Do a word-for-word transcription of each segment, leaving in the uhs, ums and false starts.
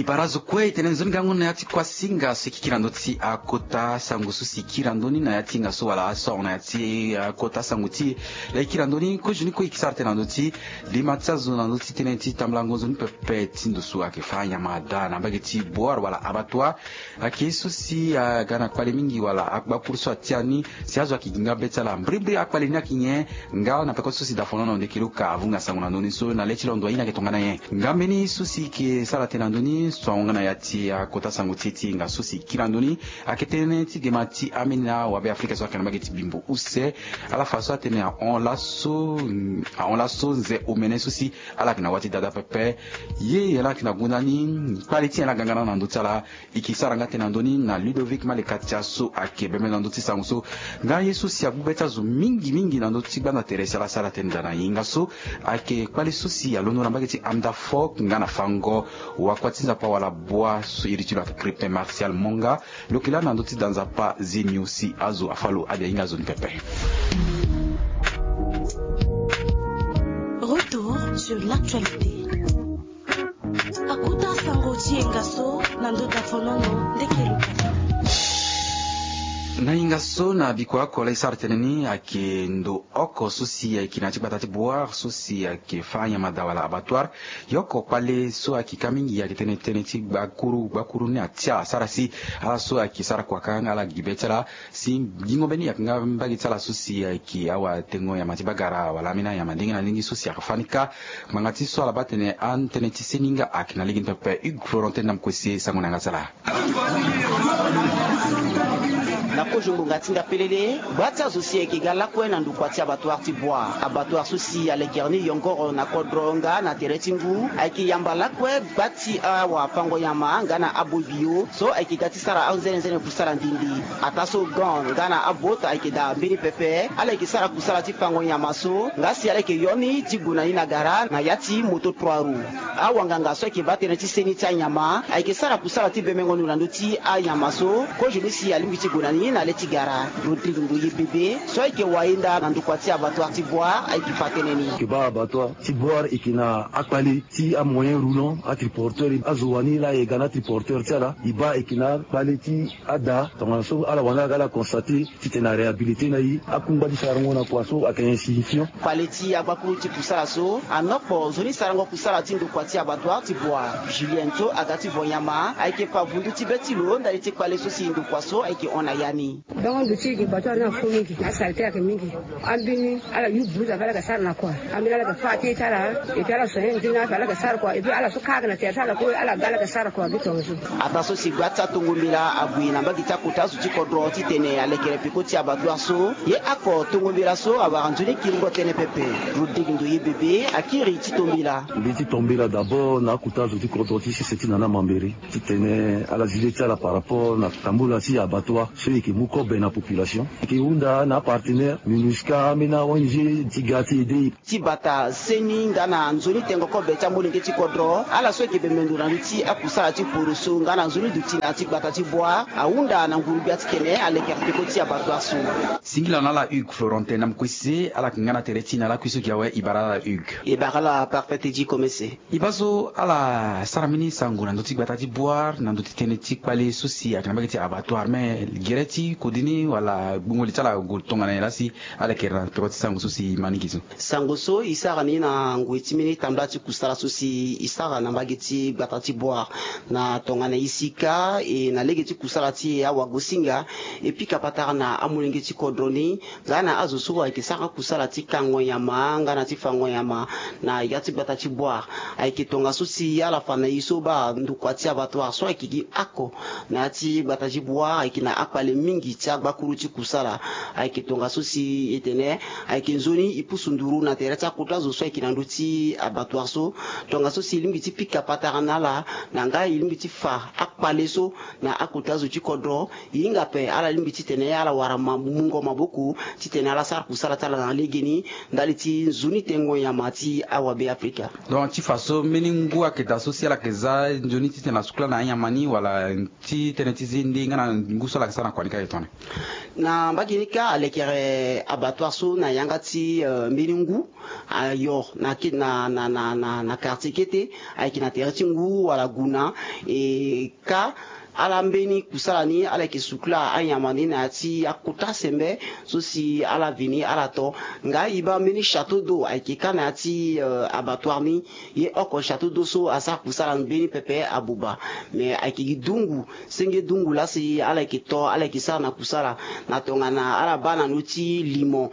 Ibara zo kue e tene nzoni gango na ya ti kuasinga so e kiri na ndö ti akota sango so si e kiri na ndö ni na ya ti hinga so wala aso ahon na ya ti akota sango ti e. Laa e kiri na ndö ni kozo ni kue e ke sara tënë na ndö ti lima ti azo na ndö ti tënë ti tambulango nzoni pepe ti ndo so ayeke fa anyama daa na mbage ti boire wala abattoir. Ayeke so si aga na kpale mingi wala agbakuru so atia ni si azo ayeke gi nga be ti ala mbrimbri akpale ni ayeke nyen? Nga na peko so si dafonono ndeke luka avunga sango na ndö ni so na le ti londo aye ni ayeke tongana nyen? Nga mbeni so si e ke sara tënë na ndö ni so ahon nga na ya ti akota sango ti e ti hinga so si e kiri na ndö ni ayeke tënë ti gema ti ambeni na wabe afrika so ayeke na mbage ti bimbo use. Ala fa so atene ahon laso ahon laso nze omene so si ala yeke na wâ ti dada pepe. Ye ala yeke na gonda ni kpale ti nyen ala ga nga na ndö ti ala? E ke sara nga tënë na ndö ni na Ludovic Malekatia so ayeke bembe na ndö ti sango so. Nga ye so si agbu be ti azo mingi mingi na ndö ti gbanda tere si ala sara tënë daa na e hinga so ayeke kpale so si alondo na mbage ti Amda Fock nga na fango wakua ti nzapa wala bua so iri ti lo ayeke Crispin Martial Monga. Lo yeke laa na ndö ti da nzapa zenio si azo afa lo abi ahinga zo ni pepe. Retour sur l'actualité. Akota sango ti e nga so na ndö dafonono ndeke luka. Na hinga so na bikua oko laa e sara tënë ni ayeke ndo oko so si ayeke na ya ti gbata ti boire so si ayeke fa anyama daa wala abattoir. Ye oko kpale so ayeke ka mingi ayeke tënë tënë ti gbakuru gbakuru ni atia asara si ala so ayeke sara kua ka nga ala gi be ti ala. Si gingo mbeni ayeke nga mbage ti ala so si ayeke awatengo nyama ti bagara wala ambeni anyama ndenge na ndenge so si ayeke fa ni kâ. Ngbanga ti so ala baa atene atënë ti seni nga ayeke na lege ni pepe. Hugues Florentin na mokue se sango na yanga ti ala. Na kozo ngbonga ti nda pelele gba ti azo si ayeke ga lakue na ndokua ti abattoir ti boire abattoir so si alekere ni yongoro na kodro nga na tere ti ngu ayeke yamba lakue gba ti awafango nyama nga na aboi bio so ayeke ga ti sara anzenenzene kusala ndindi. Ataa so gan nga na abot ayeke daa mbeni pepe ala yeke sara kusala ti fango nyama so nga si ala yeke yo ni ti gue na ni na gara na ya ti moto trois roues. Awanganga so ayeke baa tënë ti seni ti anyama ayeke sara kusala ti bemengo ndo na ndö ti anyama so kozo ni si alingbi ti gue na ni na le ti gara. Rodrigue Ndoye Bebe so ayeke wayenda na ndokua ti abattoir ti boire ayeke fa tënë ni. Ayeke baa abattoir ti boire ayeke na akpale ti amoyen roulant atriporteur azo wani laa e ga na atriporteur ti ala e baa ayeke na akpale ti ada tongana so ala wani aga ala constate titene aréhabilité na e akungba ti sarango na kua so ayeke insignifiant. Kpale ti agbakuru ti kusala so anokpo nzoni sarango kusala ti ndokua ti abattoir ti boire julienne so aga ti vo nyama ayeke fa vundu ti be ti lo ndali ti kpale so si ndokua so ayeke hon na ya ni. Donc ndo ti e ge bato ala ni afo mingi asalite ayeke mingi. Ambeni ala yu blues ape ala yeke sara na kua. Ambeni ala yeke fa ate ti ala. Epui ala soigner nzoni ape ala yeke sara kua epui ala so kâ ayeke na tere ti ala kue ala ga ala yeke sara kua gi tongaso. Ataa so si gba ti atongo mbela ague na mbage ti akota azo ti kodro titene alekere peko ti abattoir so. Ye oko tongo mbela so awara nzoni kiringo tënë pepe. Rodrigue Ndoye Bebe akiri ti to mbela. Mbi ti to mbela d'abord na akota azo ti kodro ti sese ti nana mambere titene ala zi le ti ala par rapport na tambula ti abattoir so e yeke mu kobe na population. E yeke hunda na apartenaire minusca ambeni aong ti ga ti aide. Ti bata seni nga na nzoni tengo kobe ti amolenge ti kodro ala so e yeke bembe ndo na ndö ti akusala ti poroso nga na nzoni duti na ya ti gbata ti boire ahunda na nguru-gbia titene alekere peko ti abattoir so. Singila na ala Hugues Florentin na mokue se ala yeke nga na tere ti na lakui so gi awe e bara ala Hugues. E bara ala parfait ti komese. E baa so ala sara mbeni sango na ndö ti gbata ti boire na ndö ti tënë ti kpale so si ayeke na mbage ti abattoir me gere ti kodi ni wala gbungo li ti ala gue tongana nyen laa si ala yeke na peko ti sango so si e ma ni gi so. Sango so e sara ni na ngoi ti mbeni tambula ti kusala so si e sara na mbage ti gbata ti boire na tongana e si kâ e na lege ti kusala ti e awagosinga e pika patara na amolenge ti kodro ni nga na azo so ayeke sara kusala ti kango nyama nga na ti fango nyama na ya ti gbata ti boire. Ayeke tongaso si ala fa na e so baa ndokua ti abattoir so ayeke gi oko na ya ti gbata ti boire ayeke na akpale mingi ti agbakuru ti kusala. Ayeke tongaso si e tene ayeke nzoni e pusu nduru na tere ti akota zo so ayeke na ndö ti abattoir so. Tongaso si e lingbi ti pika patara na ala na nga e lingbi ti fa akpale so na akota zo ti kodro. E hinga ape ala lingbi titene ala wara ma mungo maboko titene ala sara kusala ti ala na legeni ndali ti nzoni tengo nyama ti awabe afrika. Donc ti fa so mbeni ngu ayeke daa so si ala yeke za nzoni titene asukula na anyama ni wala ti tënë ti zende nga na ngu so ala yeke sara na kua ni kâ? Na mbage ni kâ alekere abattoir so na yanga ti mbeni ngu ayo na quartier kete, ayeke na tere ti ngu wala guna. E kâ ala mbeni kusala ni ala yeke sukula anyama ni na ya ti akota sembe so si ala vini ala to. Nga e baa mbeni château d'eau ayeke kâ na ya ti abattoir ni. Ye oko château d'eau so asara kusala mbeni pepe abuba. Mais ayeke gi dungu senge dungu laa si ala yeke to ala yeke sara na kusala na tongana ala baa na ndö ti limo,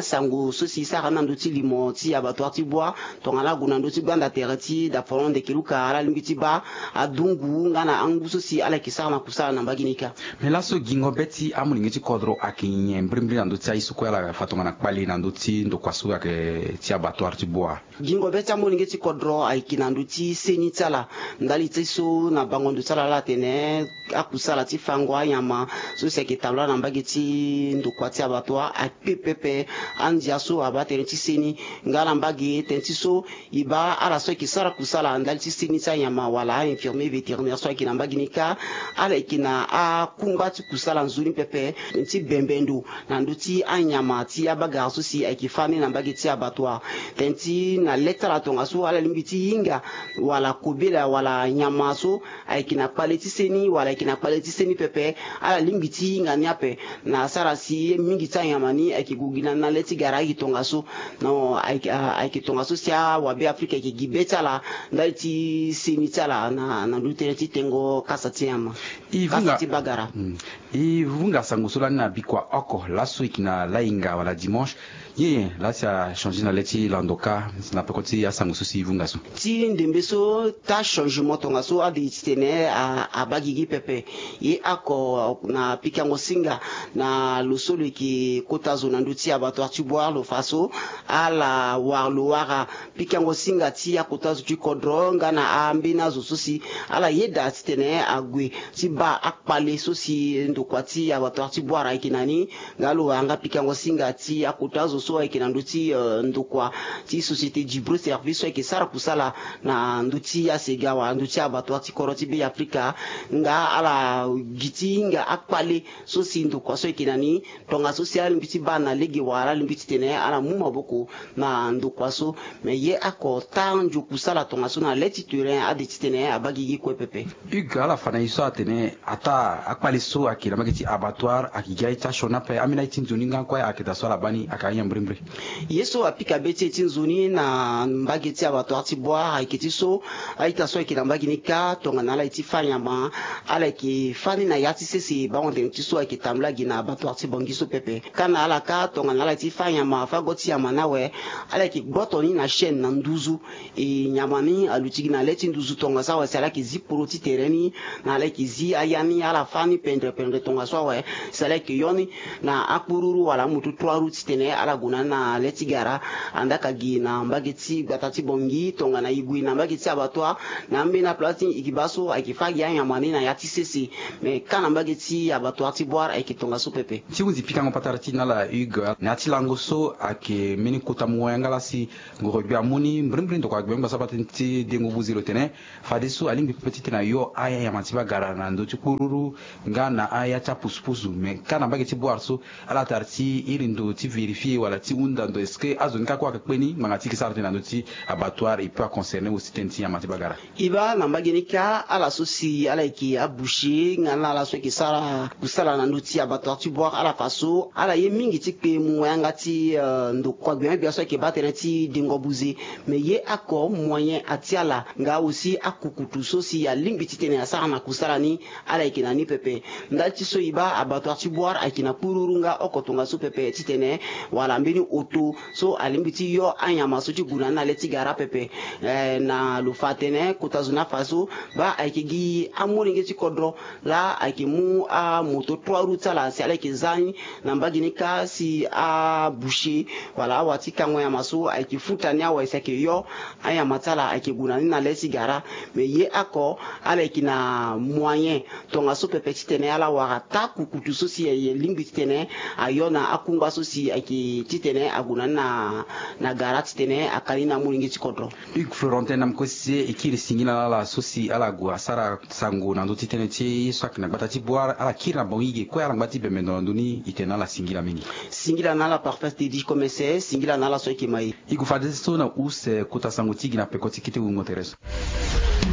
sango so si sara na ndö ti limo ti abattoir ti Bouar. Tongana ague na ndö ti gbanda tere ti Daporon Ndekeluka ala lingbi ti baa adungu nga na angu so si ala yeke sara na kusala na mbage ni kâ. Mais laso gingo be ti amolenge ti kodro ayeke nyen mbirimbiri na ndö ti aye so kue ala fa tongana kpale na ndö ti ndokua so ayeke ti abattoir ti Bouar? Gingo be ti amolenge ti kodro ayeke na ndö ti seni ti ala ndali ti so na bango ndo ti ala ala tene akusala ti fango anyama so si ayeke tambula na mbage ti ndokua ti abattoir akpe pepe. Andia so abaa tënë ti seni nga na mbage tënë ti so e baa ala so ayeke sara kusala ndali ti seni ti anyama wala a-infirmier vétérinaire so ayeke na mbage ni kâ ala yeke na akungba ti kusala nzoni pepe ti bembe ndo na ndö ti anyama ti abagara so si ayeke fâ ni na mbage ti abattoir. Tënë ti na le ti ala tongaso ala lingbi ti hinga wala kobela wala nyama so ayeke na kpale ti seni wala ayeke na kpale ti seni pepe. Ala lingbi ti hinga ni ape na asara si ye mingi ti anyama ni ayeke gue gi na ni na le ti gara aye tongaso. Non, ayeke tongaso si awabe afrika ayeke gi be ti ala ndali ti seni ti ala na ndö ti tënë ti tengo kasa ti nyama, kasa ti bagara. E vunga sango so lani na bikua oko laso e yeke na lahinga wala dimanche. Ye laa si achangé na le ti lando kâ na peko ti asango so si e vunga so. Ti ndembe so taa changement tongaso ade titene abaa gigi pepe. Ye oko na pikango singa na lo so lo yeke kota zo na ndö ti abattoir ti Bouar lo fa so ala wara lo wara pikango singa ti akota zo ti kodro nga na ambeni azo so si ala yeda titene ague ti baa akpale so si ndokua ti abattoir ti Bouar ayeke na ni. Nga lo wara nga pikango singa ti akota zo so ayeke na ndö ti ndokua ti société Djibro Service so ayeke sara kusala na ndö ti asega wala ndö ti abattoir ti kodro ti Be Afrika. Nga ala gi ti hinga akpale so si ndokua so ayeke na ni. Tongaso si ala lingbi ti baa na lege wala ala lingbi titene ala mu maboko na ndokua so. Me ye oko taa ndio kusala tongaso na le ti terrain ade titene abaa gigi kue pepe. Hugues, ala fa na e so atene ataa akpale so ayeke na mbage ti abattoir ayeke gi aye ti asioni ape. Ambeni aye ti nzoni nga kue ayeke daa so ala baa ni ayeke anyen mbirimbiri? Ye so apika be ti e ti nzoni na mbage ti abattoir ti Bouar ayeke ti so a-ita so ayeke na mbage ni kâ tongana ala ye ti fâ nyama ala yeke fâ ni na ya ti sese bango tene ti so ayeke tambula gi na abattoir ti Bangui so pepe. Kâ na ala kâ tongana ala ye ti fâ nyama fâ go ti nyama ni awe ala yeke gboto ni na chaîne na nduzu. E nyama ni aluti gi na le ti nduzu tongaso awe si ala yeke zi poro ti tere ni na ala yeke zi aya ni ala fâ ni pendre pendre tongaso awe si ala yeke yo ni na akpururu wala amoto trois roues titene ala gue na ni na le ti gara. Andaa ka gi na mbage ti gbata ti Bangui tongana e gue na mbage ti abattoir na ambeni aplace ti e yeke baa so ayeke fâ gi anyama ni na ya ti sese. Me kâ na mbage ti abattoir ti Bouar ayeke tongaso pepe. Ti hunzi pikango patara ti e na ala Hugues na ya ti lango so ayeke mbeni kota mo wayanga laa si ngoro gbia amu ni mbirimbiri ndokua gbia ni gbasa bate ti dengo buze lo tene fadeso alingbi pepe titene ayo aya nyama ti bagara na ndö ti kpururu nga na aya ti apusupusu. Me kâ na mbage ti Bouar so ala tara ti iri ndo ti vérifier wala ti hunda ndo est-ce que azo ni kâ kue ayeke kpe ni ngbanga ti e yeke sara tënë na ndö ti abattoir e peut aconcerner aussi tënë ti nyama ti bagara? E baa na mbage ni kâ ala so si ala yeke aboucher nga na ala so ayeke sara kusala na ndö ti abattoir ti Bouar ala fa so ala ye mingi ti kpe mo wayanga ti ndokua gbia gbia so ayeke baa tënë ti dengo buze. Me ye oko moyen ati ala nga aussi akukutu so si alingbi titene asara na kusala ni ala yeke na ni pepe. Ndali ti so e baa abattoir ti Bouar ayeke na kpururu nga oko tongaso pepe titene wala mbeni oto so alingbi ti yo anyama so ti gue na ni na le ti gara pepe. Eh, na lo fa atene kota zo ni afa so baa ayeke gi amolenge ti kodro laa ayeke mu amoto trois roues ti ala si ala yeke za ni na mbage ni kâ si aboucher wala awa ti kango nyama so ayeke futa ni awe si ayeke yo anyama ti ala ayeke gue na ni na le ti gara. Me ye oko ala yeke na Moyen tongaso pepe titene ala wara taku kutu so si aye lingbi titene ayo na akungba so si ayeke titene ague na ni na gara titene aka ni na molenge ti kodro. Hugues Florentin Namkose e kiri singila na ala so si ala gue asara sango na ndö ti tënë ti ye so ayeke na gbata ti bua ala kiri na bango ige kue ala ngba ti bembe ndo na ndö ni e tene na ala singila mingi. Singila na ala Parfait Teddy Komese, singila na ala so ayeke ma e. E gue fadeso na use kota sango ti e gi na peko ti kete wungo tere so.